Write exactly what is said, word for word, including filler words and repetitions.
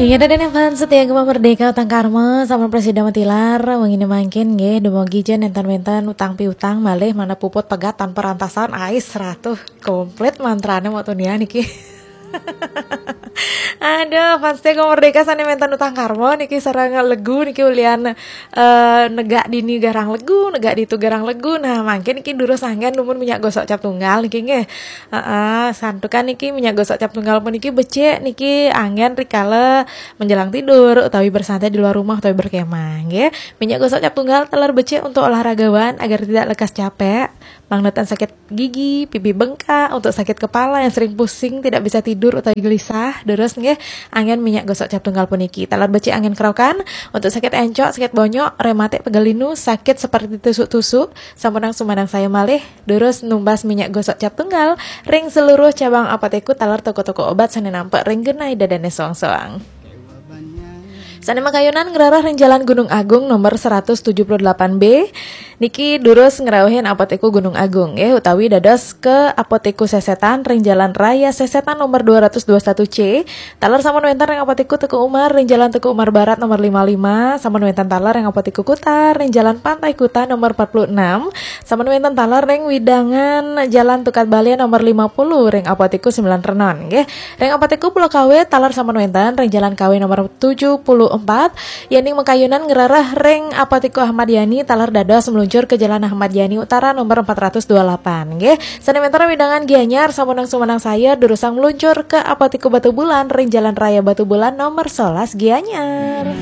Inggih, dadan fans setia Gema Merdeka, utang karma sampun prasida matilar. Wengine mangkin nggih, dumugi ja nenten-nenten utang piutang malih manah puput pegat tanpa rantasan, ais ratuh komplit mantrane mau tunia niki. Aduh, fans setia Gema Merdeka sane menten utang karma niki sareng legu niki ulian eh, negak dini garang legu, negak ditu garang legu. Nah, mangkin niki durus anggen numun minyak gosok cap tunggal niki nggih. Heeh, santukan niki minyak gosok cap tunggal puniki becik niki anggen rikala menjelang tidur utawi bersantai di luar rumah utawi berkemah nggih. Minyak gosok cap tunggal taler becik untuk olahragawan agar tidak lekas capek, mangnetan sakit gigi, pipi bengkak, untuk sakit kepala yang sering pusing, tidak bisa tidur utawi gelisah, durus nggih, anggen minyak gosok cap tunggal puniki. Taler becik anggen kerokan untuk sakit encok, sakit bonyok, rematik, pegal linu, sakit seperti tusuk-tusuk, sampunang sumanang saya malih, durus numbas minyak gosok cap tunggal ring seluruh cabang apotekku taler toko-toko obat sane nampek ring genah dadane soang-soang. Sane makayunan ngrereh ring Jalan Gunung Agung nomor seratus tujuh puluh delapan B. Niki durus ngrauhin Apotekku Gunung Agung nggih, utawi dados ke Apotekku Sesetan ring Jalan Raya Sesetan nomor dua ratus dua satu C. Taler sampun wenten ring Apotekku Teuku Umar ring Jalan Teuku Umar Barat nomor lima lima. Sampun wenten taler ring Apotekku Kuta ring Jalan Pantai Kuta nomor empat puluh enam. Sampun wenten taler ring wewidangan Jalan Tukad Bale nomor lima puluh ring Apotekku Sembilan Renon nggih. Ring Apotekku Pulau Kawe taler sampun wenten ring Jalan Kawe nomor tujuh puluh empat. Yening makayunan ngrereh ring Apotekku Ahmad Yani taler dados meluncur ke Jalan Ahmad Yani Utara nomor empat ratus dua puluh delapan nggih. Sane wenten wewidangan Gianyar sampunang sumanang saya durusang meluncur ke Apotekku Batubulan ring Jalan Raya Batubulan nomor sebelas Gianyar.